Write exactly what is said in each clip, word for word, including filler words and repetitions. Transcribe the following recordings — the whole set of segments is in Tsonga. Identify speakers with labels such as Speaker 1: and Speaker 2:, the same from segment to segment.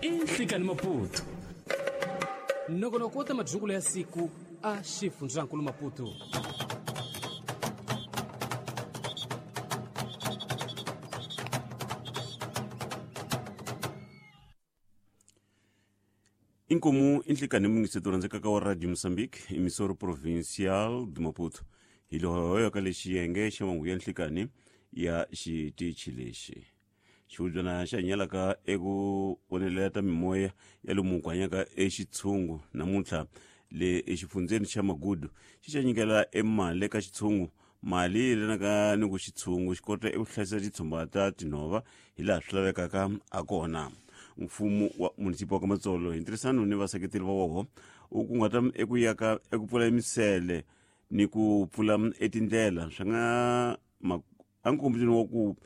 Speaker 1: I Nhlikani Maputo. Nongonoko wa ta madzukulo ya siku a xifundzankulu Maputo.
Speaker 2: Inkomu inhlikani mungiseto rhandzekaka wa Radio Mozambique, emissora provincial de Maputo. Hi lohoyo ka lexi yenge xa mahungu ya nhlikani ya xitichi lexi. Xihubyana xa hinyalaka eku vonelela ta mimoya ya lomu ku hanyaka exitshungu namuntlha le exifundzeni xa Magudu xi xa nyikela emali eka xitshungu, mali yi yelanaka ni ku xitshungu xi kota eku hlayisa titshumba ta tinhova hi laha swi lavekaka ha kona. Mfumo wa munisipa wa ka Matsolo hi ntirhisano ni vaseketeri va woho u kunguhata eku yaka eku pfula misele ni ku pfula etindlela swi nga enkombisweni wa ku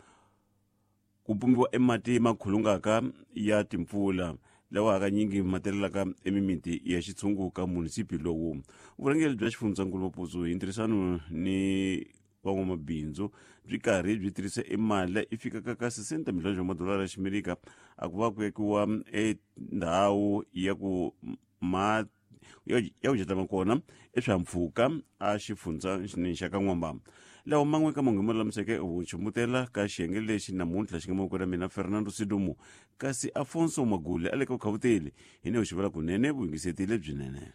Speaker 2: ku pumbiwa emati ma khulungaka ya timpfula lawa hakanyingi ma telelaka emimiti ya xitshungu ka munisipi lowu. Vurhangeri bya xifundzankulu Maputo hi ntirhisano ni van'wamabindzu byi karhi byi tirhisa emali yi fikaka ka sesenta milhone wa madolara ya ximerika a ku va ku vekiwa endhawu ya ku ma ya ku jatama kona eswihahampfhuka a xifundzeni xa ka N'wamba. Lawa man'we ka mahungu lulamiseke vuchumbutela ka xiyenge lexi namuntlha xi nga mavokweni ya mina Fernando Sidumo, kasi Afonso Magule a le ka vukhavuteli hi ne xivula kunene vuyingiseti lebyinene.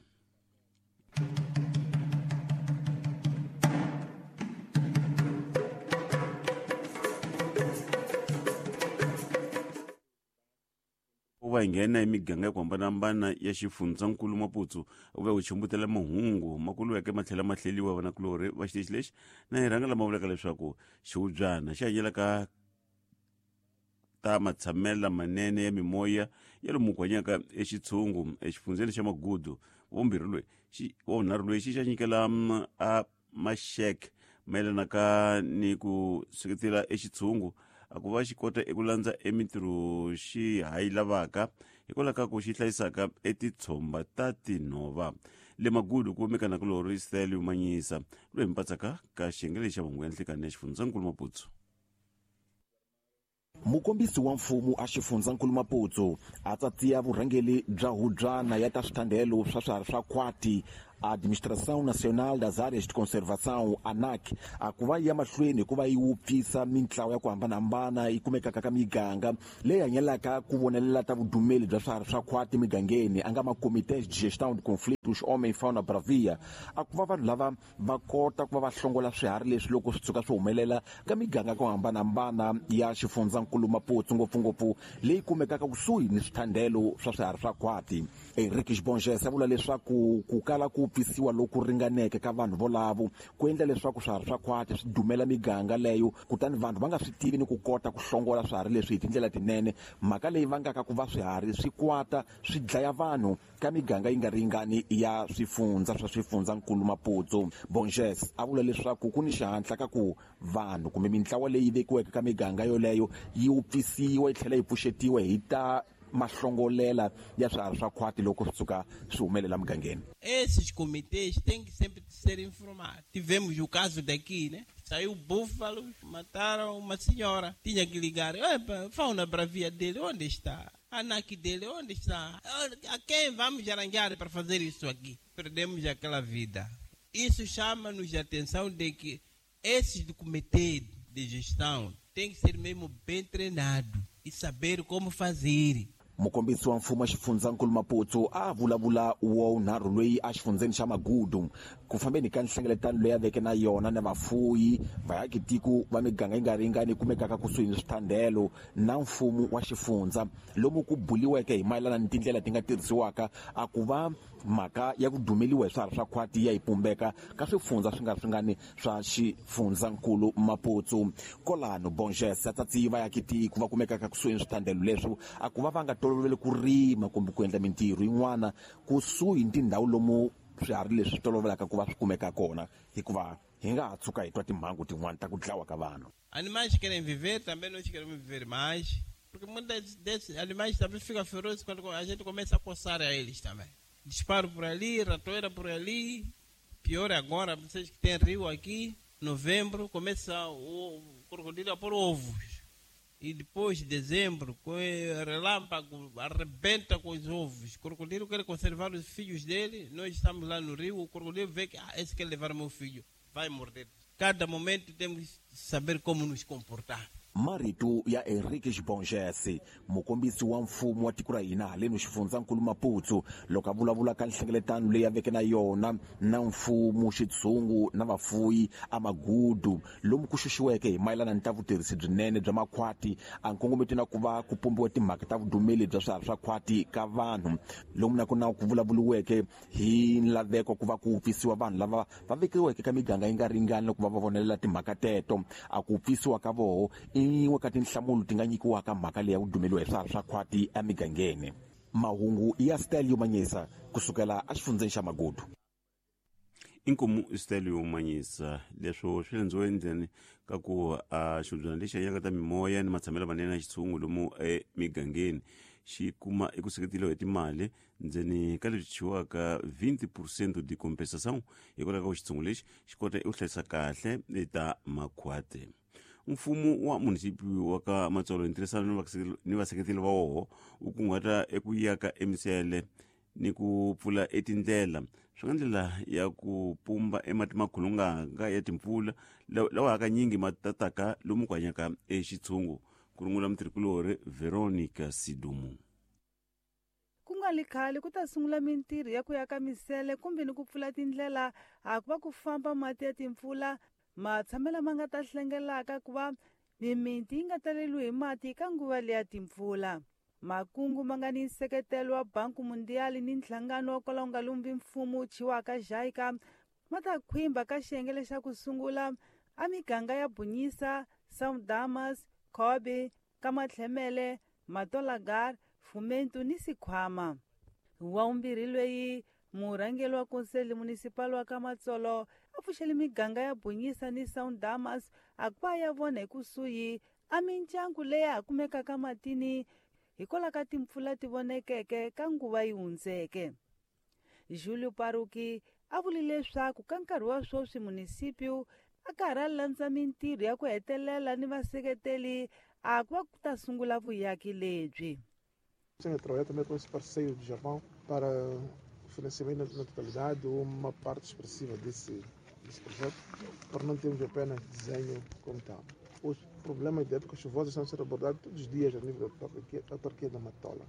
Speaker 2: Va nghena emiganga ya ku hambanahambana ya xifundzankulu Maputo u va u chumbutela mahungu ma kuluweke ma tlhela ma hleliwa vanakulorhi va xitichi lexi na hi rhanga lama vulaka leswaku xihubyana xi hanyelaka ta matshamelo lamanene ya mimoya ya lomu ku hanyaka exitshungu exifundzeni xa Magudu. Wa vumbirhi loyi xi wa vunharhu loyi xi xa nyikela a maxeke mayelanaka ni ku seketela exitshungu a ku va xi kota eku landza emintirho xi ha yi lavaka hikwalaho ka ku xi hlayisaka etitshomba ta tinhova. Le Magudu ku kumeka nakulorhi Stelio Manyisa loyi hi mpatsaka ka xiyenge lexi xa mahungu ya nhlikani ya xifundzankulu Maputo.
Speaker 3: Mukombisi wa mfumo a xifundzankulu Maputo a tsatsiya vurhangeri bya hubyana ya ta swithandelo swa swiharhi swa khwati Administração Nacional das Áreas de Conservação, ANAC, a ku va yi ya mahlweni hikuva yi wupfisa mintlawa ya ku hambanahambana yi kumekaka ka miganga leyi hanyelaka ku vonelela ta vudumeli bya swiharhi swa khwati emigangeni, a nga ma-comités de gestão de conflitos homem fauna bravia, a ku va vanhu lava va kota ku va va hlongola swiharhi leswi loko swi tshuka swi humelela ka miganga ku hambanahambana ya xifundzankulu Maputo, ngopfungopfu leyi kumekaka kusuhi ni swithandelo swa swiharhi swa khwati. Henrique Bonges a vula leswaku ku kala ku pfisiwa loku ringaneke ka vanhu volavo ku endla leswaku swiharhi swa khwati swi dumela miganga leyo, kutani vanhu va nga swi tivi ni ku kota ku hlongola swiharhi leswi hi tindlela tinene, mhaka leyi vangaka ku va swiharhi swi kwata swi dlaya vanhu ka miganga yi nga ringani ya swifundza swa xifundzankulu Maputo. Bonges a vula leswaku ku ni xihatla ka ku vanhu kumbe mintlawa leyi vekiweke ka miganga yoleyo yi wupfisiwa yi tlhela yi pfuxetiwa hi ta mahlongolela ya swiharhi swa khwati loko swi tshuka swi humelela mugangeni.
Speaker 4: Esses comitês têm que sempre ser informados. Tivemos o caso daqui, né? Saiu búfalo, mataram uma senhora. Tinha que ligar. Epa, fauna bravia dele, onde está? A ANAC dele, onde está? A quem vamos arranjar para fazer isso aqui? Perdemos aquela vida. Isso chama-nos a atenção de que esses comitês de gestão têm que ser mesmo bem treinados e saber como fazer.
Speaker 3: Mukombisi wa mfumo wa xifundzankulu Maputo a vulavula wa wunharhu loyi a xifundzeni xa Magudu ku fambeni ka nhlengeletano leyi a veke na yona na vafuyi vaakitiko va miganga yi nga ringani kumekaka kusuhi ni swithandelo na mfumo wa xifundza, lomu ku buliweke hi mayelana ni tindlela ti nga tirhisiwaka a ku va mhaka ya ku dumeliwa hi swiharhi swa khwati ya yi pumbeka ka swifundza swi nga ri swingani swa xifundzankulu Maputo. Kolano Bonges a tsatsiyi vaakitiko va kumekaka kusuhi ni swithandelo leswi a ku va va nga tolovele ku rima kumbe ku endla mintirho yin'wana kusuhi ni tindhawu lomu swiharhi leswi swi tolovelaka ku va swi kumeka kona, hikuva hi nga ha tshuka hi twa timhangu tin'wana ta ku dlawa ka vanhu.
Speaker 4: Animais querem viver, também nós queremos viver mais, porque muitos desses animais também ficam ferozes quando a gente começa a coçar a eles também. Disparo por ali, ratoeira por ali, pior agora, vocês que têm rio aqui, novembro, começa o crocodilo a pôr ovos. E depois de dezembro, com relâmpago, arrebenta com os ovos. O crocodilo quer conservar os filhos dele. Nós estamos lá no rio, o crocodilo vê que ah, esse quer levar meu filho, vai morder. Cada momento temos que saber como nos comportar.
Speaker 3: Marito ya Henrique Bongese, mukombisi wa mfumo wa tiko ra hina haleno xifundzankulu Maputo, loko a vulavula ka nhlengeletano leyi a veke na yona na mfumo, xitshungu na vafuyi a Magudu, lomu ku xuxiweke hi mayelana ni ta vutirhisi byinene bya makhwati, a nkongometo na ku va ku pumbiwa timhaka ta vudumeli bya swiharhi swa khwati ka vanhu, lomu na kona ku vulavuriweke hi nlaveko ku va ku pfisiwa vanhu lava va vekiweke ka miganga yi nga ringani loko va va vonelela timhaka teto. A ku pfisiwa ka voho yin'we ka tinhlamulo ti nga nyikiwaka mhaka leyi ya ku dumeliwa hi swiharhi swa khwati emigangeni. Mahungu ya Stelio Manyisa kusukela exifundzeni xa Magudu.
Speaker 2: Inkomu Stelio Manyisa, leswo swi lendziwe endleni ka ku a xibyana lexi hanyaka ta mimoya ni matshamelo manene ya xitshungu lomu emigangeni xi kuma eku seketeliwa hi timali ndzeni ka leswi thyiwaka twenty percent de compensação, hikwalaho ka ku xitshungu lexi xi kota eku hlayisa kahle ta makhwati. Mfumo wa munisipi wa ka Matsolo hi ntirhisano ni vaseketeli va woho wu kunguhata eku yaka emisele ni ku pfula etindlela swi nga ndlela ya ku pumba emati makhulunganga ya timpfula lawa hakanyingi ma tataka lomu ku hanyaka exitshungu, ku rungula mutirhikulori Veronica Sidumu.
Speaker 5: Ku nga li khale ku ta sungula mintirho ya ku yaka misele kumbe ni ku pfula tindlela a ku va ku famba mati ya timpfula matshamelo ma nga ta hlengelaka ku va mimiti yi nga taleliwi hi mati ka nguva leya timpfula. Makungu ma nga ni nseketelo wa Banku Mundial ni nhlangano wa kwala wu nga lumbi mfumo wu thyiwaka JICA ma ta khwimba ka xiyenge lexa ku sungula a miganga ya Bunyisa, São Damas, Kobe, Kamatlhemele, Matolagar, Fumento ni Sikhwama. Wa vumbirhi loyi murhangeri wa Conselho Municipal wa ka Matsolo a pfuxele miganga ya Bunyisa ni São Damas a ku va ya vona hi kusuhi a mindyangu leyi ha kumekaka matini hikwalaho ka timpfula ti vonekeke ka nguva yi hundzeke. Julio Paruki a vule leswaku ka nkarhi wa sweswi munisipio a ka ha landza mintirho ya ku hetelela ni vaseketeli a ku va ku ta sungula vuyaki lebyi.
Speaker 6: Tenho trabalhado também com esse parceiro do Japão para o financiamento na totalidade ou uma parte expressiva desse, desse projeto, para não termos apenas desenho como tal. Os problemas de época chuvosa estão a ser abordados todos os dias a nível da autarquia, da autarquia da Matola.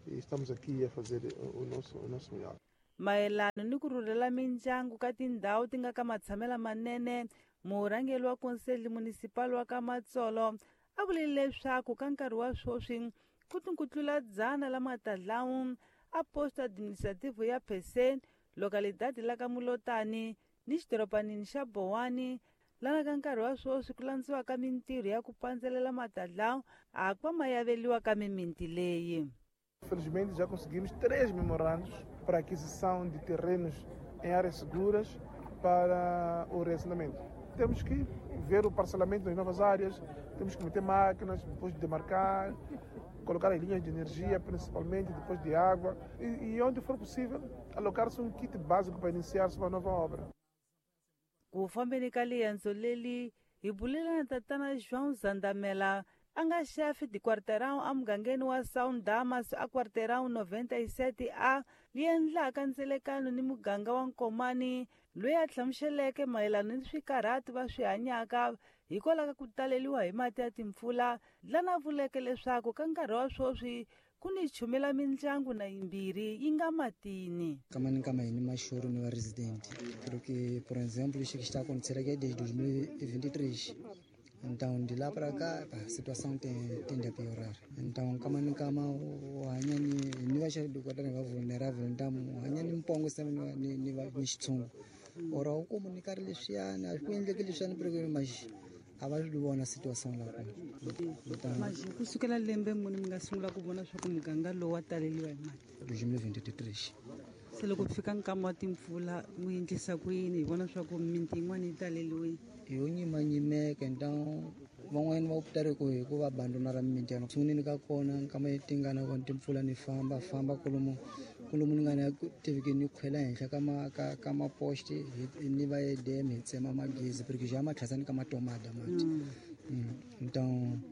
Speaker 6: E estamos aqui a fazer o nosso, o nosso melhor.
Speaker 5: Mayelana ni ku rhurhela mindyangu ka tindhawu ti nga ka matshamelo manene, murhangeri wa Conselho Municipal wa ka Matsolo a vule leswaku ka nkarhi wa sweswi ku ti ku tlula dzana la matadlawu a posto administrativo ya Pesen, localidade la ka Mulotani ni xidorobanini xa Bowani, lana ka nkarhi wa sweswi ku landziwaka mintirho ya ku pandzelela matadlawu a ku va ma yaveliwa ka mimiti leyi.
Speaker 6: Felizmente já conseguimos três memorandos para aquisição de terrenos em áreas seguras para o reassentamento. Temos que ver o parcelamento das novas áreas, temos que meter máquinas, depois demarcar, colocar as linhas de energia, principalmente, depois de água, e, e onde for possível, alocar-se um kit básico para iniciar-se uma nova obra.
Speaker 5: Ku fambeni ka liendzo leli hi bulela na tatana João Zandamela a nga chefe de quarteirão emugangeni wa São Damas a quarteirão noventa e sete A li endlaka ndzelekano ni muganga wa Nkomani, loyi a hlamuseleke mayelana ni swikarhati va swi hanyaka hikwalaho ka ku taleliwa hi mati ya timpfula, lana vuleke leswaku ka nkarhi wa sweswi ku ni chumela mindyangu na yimbirhi yi nga matini.
Speaker 7: Kama ni kama ni mashoro ni va resident, porque por exemplo isso que está acontecendo aqui desde dois mil e vinte e três. Então de lá para cá a situação tem, tende a piorar. Então kama ni kama hanya ni ni va xa dokodela va vulnerável, então hanya ni mpongo se ni ni va ni xitshungu. Ora u comunicar leswiyani a ku endleki leswiyani porque mas a va swi vona situação la kona.
Speaker 5: Mas ku sukela lembe muni mi nga sungula ku vona swa ku muganga lowu wa taleliwa hi mati?
Speaker 7: dois mil e vinte e três.
Speaker 5: Se loko fika nkama wa timpfula mu endlisa ku yini hi vona swa ku miti yin'wana yi taleliwile?
Speaker 7: Yo nyimanyimeka, então van'wanyana va optare ku hi ku va abandonara mimiti ya sunguleni ka kona nkama yi tingana kona timpfula ni famba famba kolomu kolomu ni nga na tiviki ni khwela henhla ka ma ka ka maposte ni va edem hi tsema magezi porque já matlhasani ka matomada mati. Então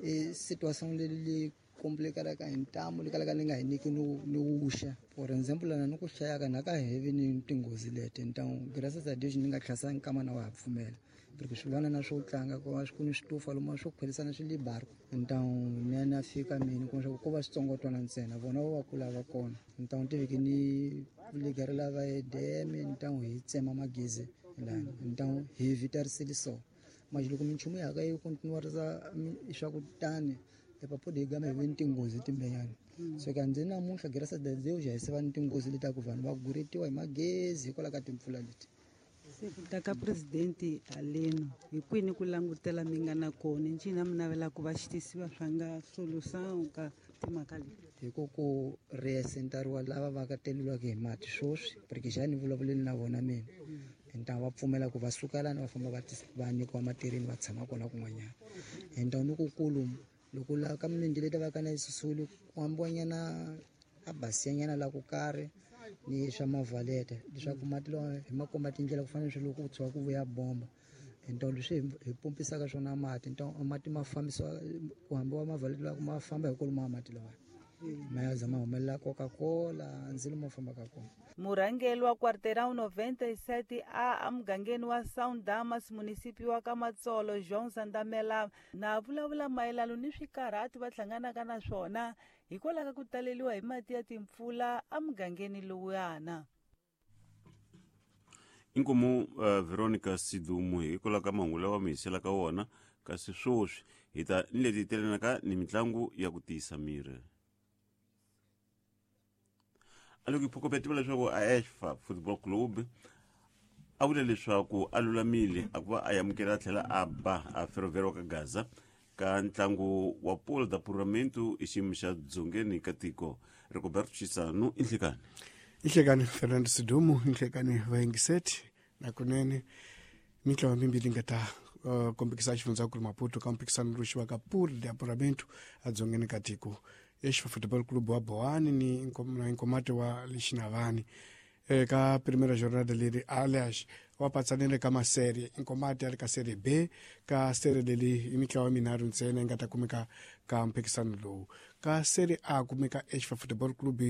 Speaker 7: I situação leyi complicada ka hintamu li kalaka li nga hi nyiki no no wuxa. For example lana ni ku hlayaka na ka heavy ni tinghozi leti então graças a Deus ni nga tlhasa nkama na wa ha pfumela. Porque swilwana na swo tlanga ko swi ku ni switufa lomu swo khwelisana swi le barco. Então ni na fika mina ku ko va switsongotwana ntsena vona va kula va kona. Então tiviki ni ligarela va E D M então hi tsema magezi lana. Então hi vitarisile so. Mas loko minchumu ya ka yi continuarisa swa ku tani epapo hi gama hi ve ni tinghozi timbenyana. So ka ndzi namuntlha graças a Deus hi se va ni tinghozi leti ku vanhu va guretiwa hi magezi hikwalaho ka timpfula leti.
Speaker 5: Se ku ta ka presidente haleno hi kwini ku langutela mi nga na kona ncina mi navela ku va xi tisiwa swa nga solução ka timhaka leti?
Speaker 7: Hi ku ku reasentariwa lava va ka teleliwaka hi mati swoswi porque xa ni vulavuleni na vona mina. Então va pfumela ku va suka lani va famba va va nyikiwa matirheni va tshama kona kun'wanyana. Então ni ku kulu loko la ka milenge leti va ka na yisusuli ku hambiwanyana a basiyanyana la ku karhi ni swa mavalete leswaku mati lawa hi ma komba tindlela ku fana na loko ku tshuka ku vuya bomba. Então leswi hi pompisaka swona mati então mati ma fambisiwa ku hambiwa mavalete lawa ma famba hi kwalomu mati lawa ma ya za ma humelela Coca-Cola ndzilo ma fambaka kona.
Speaker 5: Murhangeri wa Quarteirão noventa e sete A emugangeni wa São Damas, munisipio wa ka Matsolo, João Zandamela, na vulavula mayelana ni swikarhati va hlanganaka na swona hikwalaho ka ku taleriwa hi mati ya timpfula emugangeni lowuyana.
Speaker 2: Inkomu uh, Veronica Sidumu hikwalaho ka mahungu lawa mi hiselaka wona, kasi swoswi hi ta ni leti telanaka ni mitlangu ya ku tiyisa miri. A loko hi phokopetiwa leswaku a Esfa Football Club a vula leswaku a lulamile a ku va a amukela a tlhela a ba a Ferroviário ka Gaza ka ntlangu wa Polo da Puramento i xiyimo xa dzongeni ka tiko. Rigoberto Chisano i nhlekani.
Speaker 8: Inhlekani Fernando Sidumu, inhlekani vayingiseti nakunene mitlawa mimbili nga ta uh, kombekisa xifundzankulu Maputo ka mpikisano lowu xiwaka Polo de Apuramento adzongeni ka tiko. Esfa Football Club wa Boani ni na Nkomati wa Lixinavani eka primeira jornada leri alias wa patsanile ka masérie Nkomati a ri ka série B ka série leri i mitlawa minharhu ntsena yi nga ta kumeka ka mphikisano lowu. Ka série A kumeka Esfa Football Club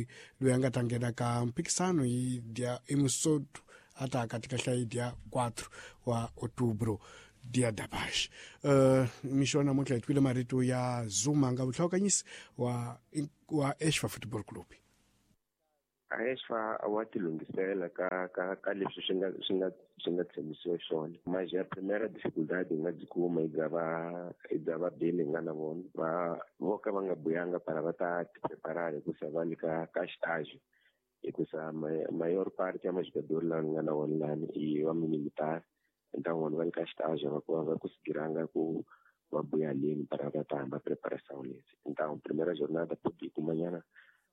Speaker 8: loyi a nga ta nghena ka mphikisano hi dia i musotu a ta katika hlayi dia quatro wa outubro dia da paz. Uh, mixo namuntlha hi twile marito ya Zuma nga vuhlawukanyisi wa wa Esfa Football Club.
Speaker 9: A Esfa wa tilunghisela ka ka ka leswi swi nga swi nga swi nga tshembisiwa swona. Mas a primeira dificuldade hi nga byi kuma i bya va i bya va beni hi nga na vona va vo ka va nga buyanga para va ta ti preparar hikusa va le ka ka estágio. Hikusa maior parte ya majogador lawa ni nga na wona lani i wa militar. Então vona va le ka estágio va ku va conseguiranga ku va buya leni para va ta hamba preparação lesi. Então primeira jornada pode kumanyana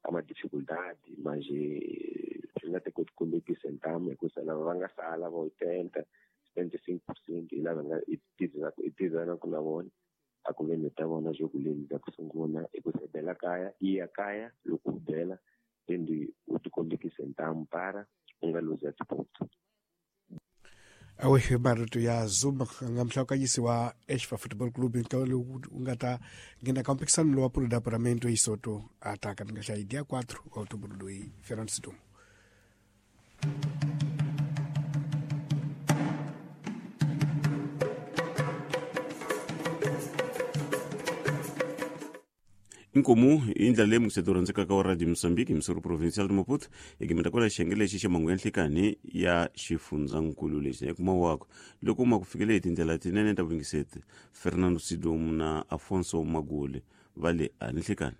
Speaker 9: há uma dificuldade, mas swi nga te koti kombekisa ntamu hikusa lava va nga sala va oitenta, setenta e cinco por cento hi lava nga hi tizanaku na vona a ku ve ni ta vona jogo leli bya ku sungula hikusa bela kaya i ya kaya loko u bela then u ti kombekisa ntamu para u nga luza tiponto.
Speaker 8: Awe marito ya Zuma nga mhlawukanyisi wa Esfa Football Club nkawe lowu u nga ta nghena ka mpikisano lowa Polo da Apuramento hi Soto a ta ka nga hlayi dia quatro wa outubro loyi Fernando Sidumu.
Speaker 2: Inkomu i ndlela leyi museto rhandzekaka wa Radio Mozambique hi Missouri Provincial de Maputo hi gimeta kwala xiyenge lexi xa mahungu ya nhlikani ya xifundzankulu lexi ekuma wako loko ma ku fikele hi tindlela tinene ta vuyingiseti Fernando Sidumu na Afonso Magule va le a nhlikani.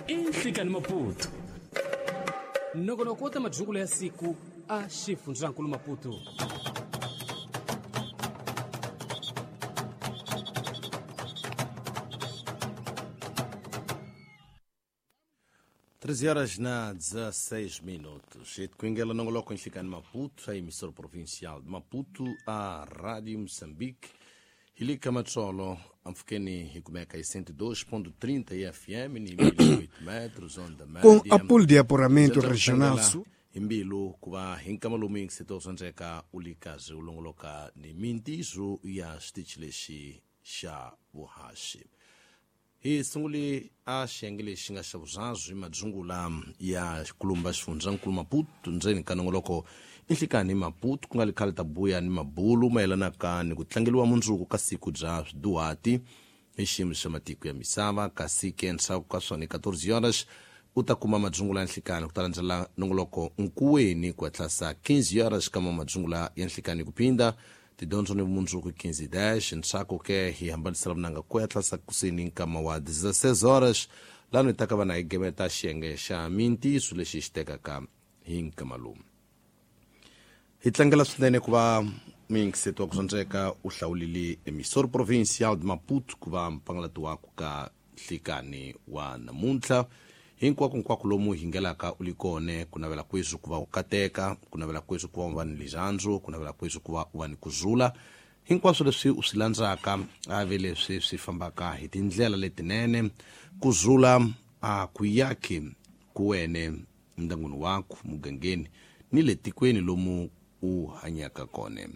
Speaker 1: I nhlikani Maputo nongonoko wa ta madyungulo ya siku a xifundzankulu Maputo.
Speaker 10: treze horas na dezesseis minutos. E de Quinguela não coloca em Chicane Maputo, a emissora provincial de Maputo, a Rádio Moçambique. Ilika Matsolo, amfukeni hikumeka cento e dois ponto trinta F M, ni mil e oito metros, onda média.
Speaker 8: Com a Pool de Apuramento Regional Sul.
Speaker 10: Hi mbilu ku va hi nkama lomu yingiseto swa ndzeka u li kazi u longoloka ni mintiso ya xitichi lexi xa vuhaxi. Hi sunguli a xiyenge lexi nga xa vuzazwi madzungula ya xikulumba xifundzankulu Maputo ndzeni ka nongoloko inhlikani Maputo ku nga li khale ta buya ni mabulu mayelanaka ni ku tlangeliwa mundzuku ka siku bya swiduhati hi xiyimo xa matiko ya misava kasi ke ndzhaku ka swona quatorze horas u ta kuma madzungula ya nhlikani ku ta landzela nongoloko nkuweni ku hatlasa quinze horas kama madzungula ya nhlikani ku phinda tidyondzo ni vumundzuku quinze dez ndzhaku ke hi hambanisela vunanga ku hatlasa kuseni nkama wa dezesseis horas lano hi ta ka va na hi gemeta xiyenge xa mintiso lexi xi tekaka hi nkama lowu. Hi tlangela swinene ku va muyingiseti wa ku swandzeka u hlawulile emissora provincial de Maputo ku va mpangalati wa ku ka nhlikani wa namuntlha. Hinkwako hinkwako lomu hi ngelaka u li kone ku navela kwesu ku va u kateka, ku navela kwesu ku va u va ni lirhandzu, ku navela kwesu ku va u va ni kuzula. Hinkwaswo leswi u swi landzaka a ve leswi swi fambaka hi tindlela letinene. Kuzula a ku yaki ku wene ndyangwini waku mugangeni ni le tikweni lomu u hanyaka kone.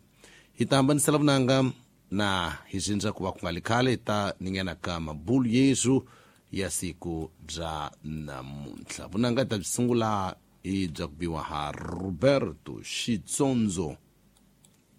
Speaker 10: Hi ta hambanisela vunanga na hi zindza ku va ku nga li khale hi ta ningena ka mabulu yesu ya siku bya namuntlha. Vunanga ta byi sungula hi bya ku biwa ha Roberto Xitsondzo.